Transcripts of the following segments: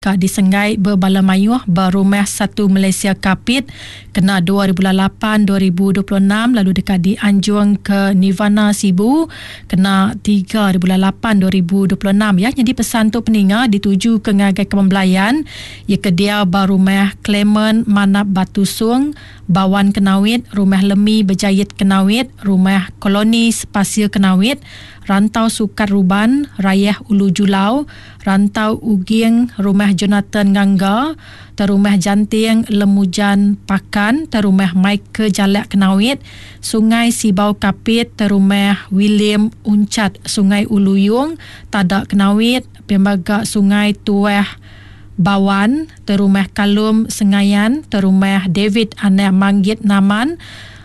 deka disenggai bebala mayuh ba Rumah Satu Malaysia Kapit kena dua hari bulan lapan 2026 lalu deka dianjung ke Nirvana Sibu kena tiga hari bulan lapan 2026 ya. Nyadi pesan tu peninga dituju ke ngagai Kaban Belayan iya ke diau ba Rumah Clement Manap Batu Sung, Bawan Kenawit, Rumah Lemi Bejait Kenawit, Rumah Koloni Sepasir Kenawit, Rantau Sukat Ruban, Rayah Ulu Julau, Rantau Uging, Rumah Jonathan Ngangga, Terumah Janting Lemujan Pakan, Terumah Michael Jalak Kenawit, Sungai Sibau Kapit, Terumah William Unchat Sungai Ulu Yong, Tada Kenawit, pia mega Sungai Tuah Bawan, Terumah Kalum Sengayan, Terumah David Anak Manggit Naman,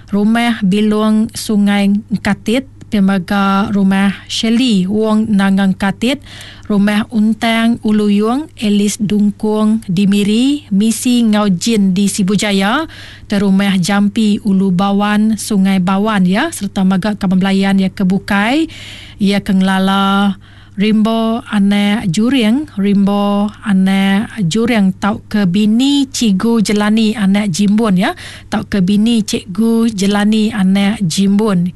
Rumah Bilong Sungai Engkatit, pia mega Rumah Shirley Wong Nanga Engkatit, Rumah Untang Ulu Yong, Alice Dungkong di Miri, Misi enggau Jin di Sibu Jaya, Terumah Jampi Ulu Bawan, Sungai Bawan ya sereta mega kaban belayan iya ke bukai iya ke ngelala Rimbo anak Juring, Rimbo anak Juring tauka bini Cikgu Jelani anak Jimbun ya, tauka bini Cikgu Jelani anak Jimbun.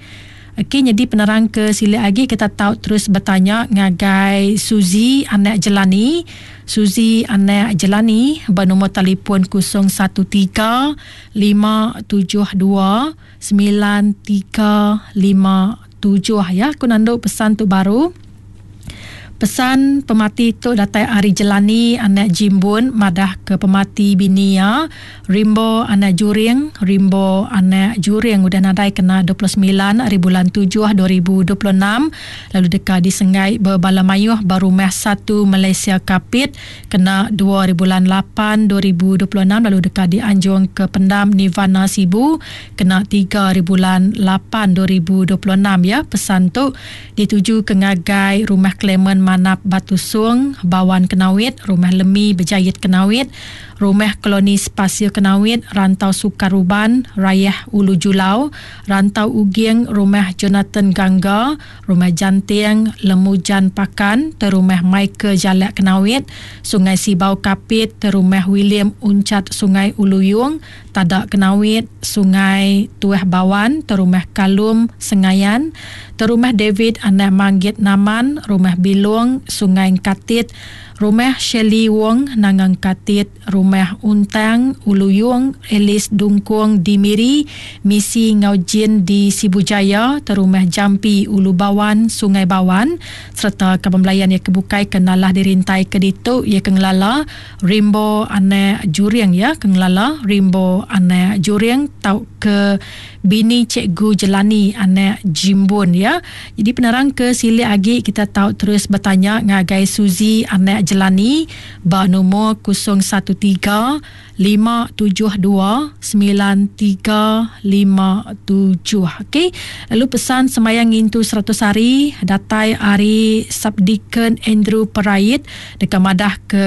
Okey nyadi penerang ke silik agi kita tau terus betanya ngagai Suzy anak Jelani. Suzy anak Jelani ba nombor telefon 013 572 9357 ya. Aku nandu pesan tu baru. Pesan pemati tu datai ari Jelani anak Jimbun madah ke pemati bini iya Rimbo anak Juring. Rimbo anak Juring udah nadai kena 29 ari bulan tujuh 2026 lalu deka disenggai bebala mayuh ba Rumah Satu Malaysia Kapit kena dua ari bulan lapan 2026 lalu deka dianjung ke Pendam Nirvana Sibu kena tiga ari bulan lapan 2026 ya. Pesan tu dituju ke ngagai Rumah Clement Manap Batu Sung, Bawan Kenawit, Rumah Lemi Bejait Kenawit, Rumah Koloni Sepasir Kenawit, Rantau Sukar Ruban, Rayah Ulu Julau, Rantau Uging, Rumah Jonathan Gangga, Rumah Janting, Lemujan Pakan, Terumah Michael Jalak Kenawit, Sungai Sibau Kapit, Terumah William Unchat Sungai Ulu Yong, Tada Kenawit, Sungai Tuah Bawan, Terumah Kalum, Sengayan, Terumah David Anak Manggit Naman, Rumah Bilong, Sungai Engkatit, Rumah Shirley Wong, Nanga Engkatit, Rumah Untang, Ulu Yong, Alice Dungkong di Miri, Misi enggau Jin di Sibu Jaya, Terumah Jampi, Ulu Bawan, Sungai Bawan, sereta kaban belayan iya ke bukai ke nalah dirintai ke ditu iya ke ngelala Rimbo anak Juring iya ke ngelala Rimbo anak Juring tauka bini Cikgu Jelani anak Jimbun iya. Jadi penerang ke silik agi kita tau terus betanya ngagai Suzy anak Jelani ba numur 013 572 9357. Okey. Lalu pesan sembahyang ngintu 100 hari datai ari Subdeacon Andrew Perait deka madah ke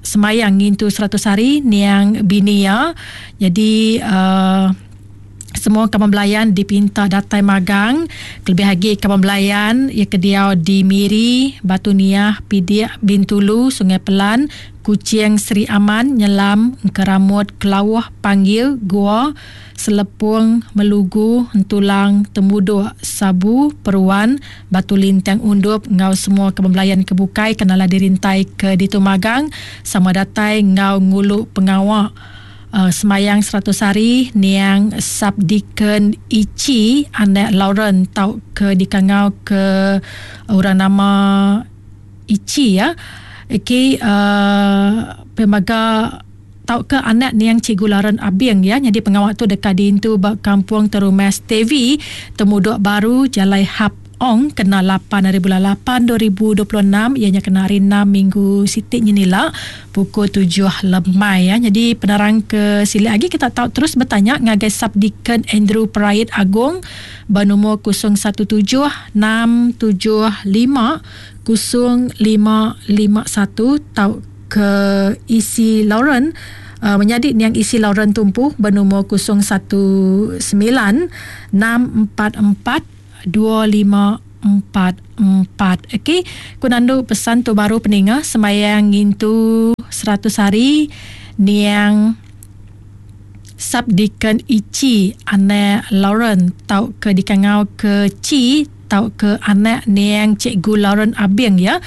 sembahyang ngintu 100 hari niang bini iya. Jadi uh, semua kaban belayan dipinta datai magang kelebih agi kaban belayan iya ke diau di Miri, Batu Niah, Pidik, Bintulu, Sungai Pelan, Kuching, Sri Aman, Nyelam, Engkeramut, Kelauh, Panggil, Gua, Selepong, Melugu, Entulang, Temudok, Sabu, Peruan, Batu Lintang Undup enggau semua kaban belayan ke bukai ke nala dirintai ke ditu magang sama datai enggau ngulu pengawa Semayang 100 hari niang Subdeacon Ichi anak Lauren tauka dikangau ke orang nama Ichi ya. Okey uh, pemaga tauka anak niang Cikgu Lauren Abing ya. Nyadi pengawa tu deka diintu ba Kampung Terumas TV Temudok Baru Jalai Hap Ong kena lapan ari bulan lapan 2026 iya nya kena hari enam minggu siti nyenila pukul tujuh lemai ya. Nyadi penerang ke silik agi kita tau terus betanya ngagai Subdeacon Andrew Perait Agong ba numur 017 675 0551 tauka Isi Lauren uh, menyadi niang Isi Lauren Tumpu ba numur 019 644 2546. empat empat. Okey, ku nandu pesan tu baru peninga sembayang ngintu seratus hari niang Subdeacon Ichi anak Lawrence tauka dikangau ke Chi tauka anak niang Cikgu Lawrence Abing ya.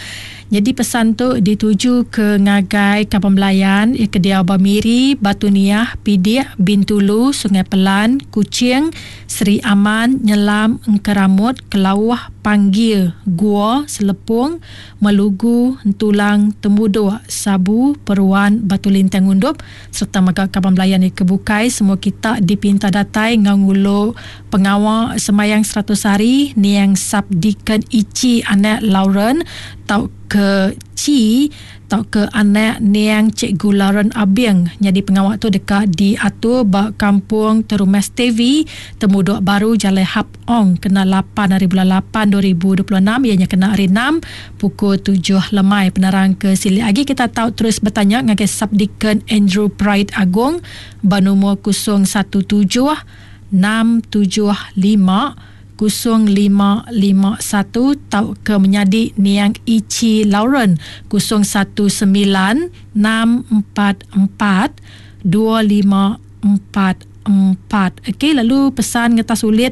Nyadi pesan tu dituju ke ngagai kaban belayan iya ke diau ba Miri, Batu Niah, Pidik, Bintulu, Sungai Pelan, Kuching, Sri Aman, Nyelam, Engkeramut, Kelauh, Panggie, Gua, Selepong, Melugu, Entulang, Temudok, Sabu, Peruan, Batu Lintang Undup sereta mega kaban belayan iya ke bukai semua kita dipinta datai enggau ngulu pengawa sembahyang seratus hari niang Subdeacon Ichi anak Lauren tauka Chi tauka anak niang Cikgu Lauren Abing nyadi pengawa tu deka diatur ba Kampung Terumes Tevi Temudok Baru Jalai Hap Ong kena lapan hari bulan lapan 2026 iya nya kena hari enam pukul tujuh lemai. Penerang ke silik agi kita tau terus betanya ngagai Subdeacon Andrew Pride Agong ba numur 017 675 0551 tauka menyadi niang Ichi Lauren 019 644 2544. Okey lalu pesan ngetas ulit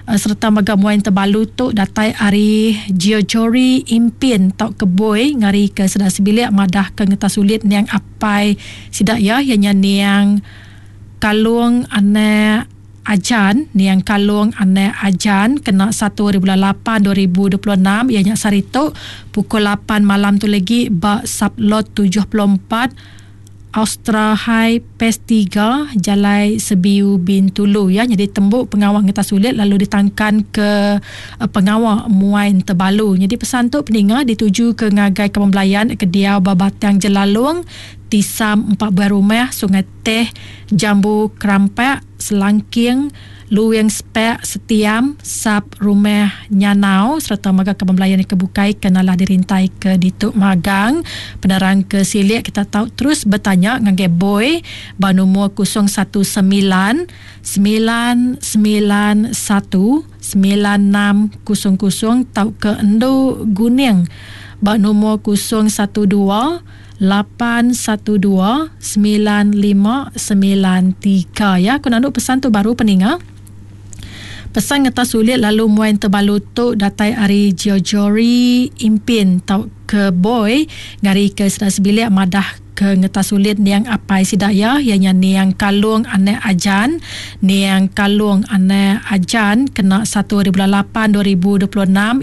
sereta mega muai tebalu tu datai ari Geojory Impin tauka Boy ngarika sida sebilik madahka ngetas ulit niang apai sida iya iya nya niang Kalong anak Ajan, niang Kalong anak Ajan kena satu hari bulan lapan 2026 iya nya sehari tu pukul lapan malam tu legi ba Sublot 74 Austra High Phase tiga Jalai Sebiu Bintulu ya nyadi tembu pengawa ngetas ulit lalu ditangkan ke pengawa muai entebalu. Nyadi pesan tu peninga dituju ke ngagai kaban belayan ke diau ba Batang Jelalong Tisam empat buah rumah Sungai Teh, Jambu Kerampak, Selangking, Luing Sepak, Setiam, Sap Rumah Nyanau sereta mega kaban belayan ke bukai ke nalah dirintai ke ditu magang. Penerang ke silik kita tau terus betanya ngagai Boy ba numur 019 991 9600 tauka Endu Guning ba numur 012 812 9593 ya ku nandu pesan tu baru peninga. Pesan ngetas sulit lalu muai tebalu tu datai ari Geojory Impin tauka Boy ngari ke sida sebilik madah ke ngetas sulit niang apai sida iya iya nya niang Kalong anak Ajan niang Kalong anak Ajan kena satu hari bulan lapan 2026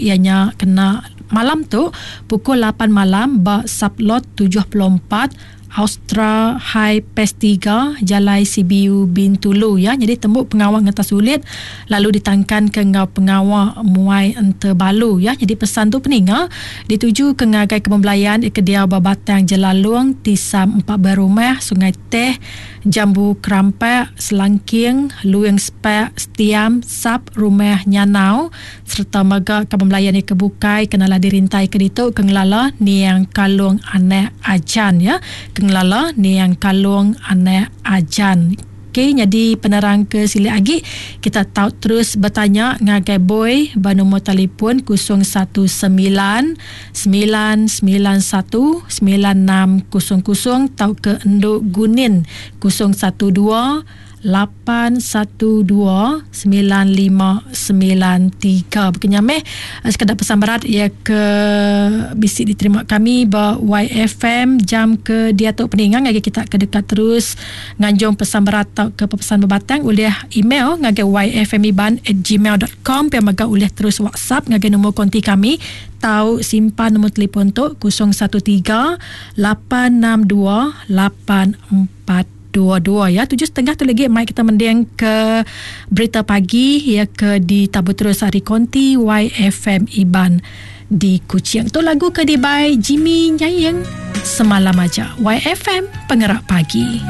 iya nya kena Malam tu, pukul lapan malam ba Sublot 74, Austra High Phase tiga, Jalai CBU Bintulu ya. Nyadi tembu pengawa ngetas ulit lalu ditangkanka enggau pengawa muai ente balu ya. Nyadi pesan tu peninga ditujuka ngagai kebun belayan ke diau ba Batang Jelalong, Tisam Empat Buah Rumah, Sungai Teh, Jambu Kerampak, Selangking, Luing Sepak, Setiam, Sap Rumah Nyanau, sereta mega kaban belayan iya ke bukai ke nalah dirintai ke ditu ke ngelala niang Kalong anak Ajan ya ke ngelala niang Kalong anak Ajan. Okey nyadi penerang ke silik agi kita tau terus betanya ngagai Boy ba nombor telefon 019 991 9600 tauka Endu Gunin 012 8129593. Baka nya meh sekeda pesan berat iya ke bisi diterima kami ba YFM jam ke diatu peninga ngagai kita ke deka terus nganjung pesan berat tauka pepesan bebatang ulih email ngagai yfmiban@gmail.com pia mega ulih terus WhatsApp ngagai nombor konti kami tau simpan nombor telefon tu 013 862 84 dua dua ya tujuh setengah tu lagi mai kita mending ke berita pagi ya ke ditabur terus ari konti YFM Iban di Kuching. Tu lagu ke dibai Jimmy Nyaing semalam aja. YFM Pengerak Pagi.